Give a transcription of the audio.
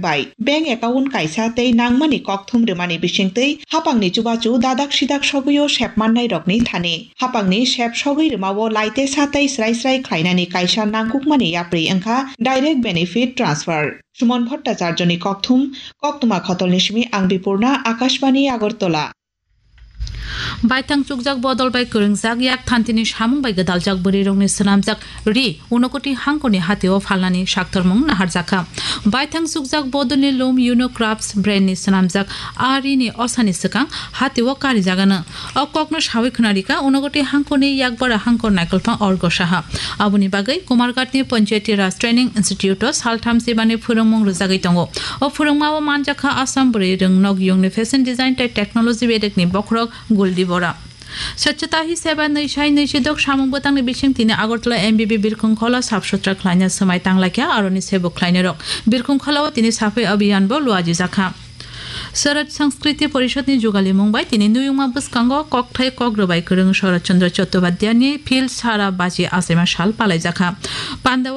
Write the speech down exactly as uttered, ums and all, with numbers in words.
bai bank account kaisa tei nangmani kokthum rwmani bisingtwi hapangni chubachu dadak sidak sogwio sep mannairokni thani. Hapangni sep sogwi rwmao laitesa tei srai srai khlainani kaisa nangkukmani yapri wngkha direct benefit transfer. Suman Bhattacharjoni kokthum, koktwma khotolni simi ang Bipurna, Akashbani Agartala. Baithang chukjak bodol bai kwrwngjak yak thantini samung bai gwdaljak bwrwirokni swnamjak ri Unakoti hangkorni hatio phalnani saktormung naharjakha. Baithang chukjak bodolni loom Uno Crafts brandni swnamjak a rini osani swkang hatio karijagano. O kokno sawi khwnarikha Unakoti hangkorni yakbara hangkor naikolphang Orgo Saha. Aboni bagwi Kumarghatni Panchayati Raj Training Institute-o saltham sibani phwrwngmung rwjagwi tongo. O phwrwngmao manjakha Assam bwrwi rwng nokyungni fashion design tei technology bedekni bokhorok Guldi Bora. Swchhata Hi Seva nwi sai nwi sidok samung bwtangni bising tini Agartala M B B birkhung khola sap sutra khlaina swmai tanglaikha aroni sebo khlainairok. Birkhung kholao tini saphai abhiyan bo luajijakha. Swaraj Sanskriti Porishadni jugalimung bai tini nuyungma bwskango kokthai kok rwbai kwrwng Sharad Chandra Chattopadhyayni Phil Sara Baji achaima sal palaijakha. Pandao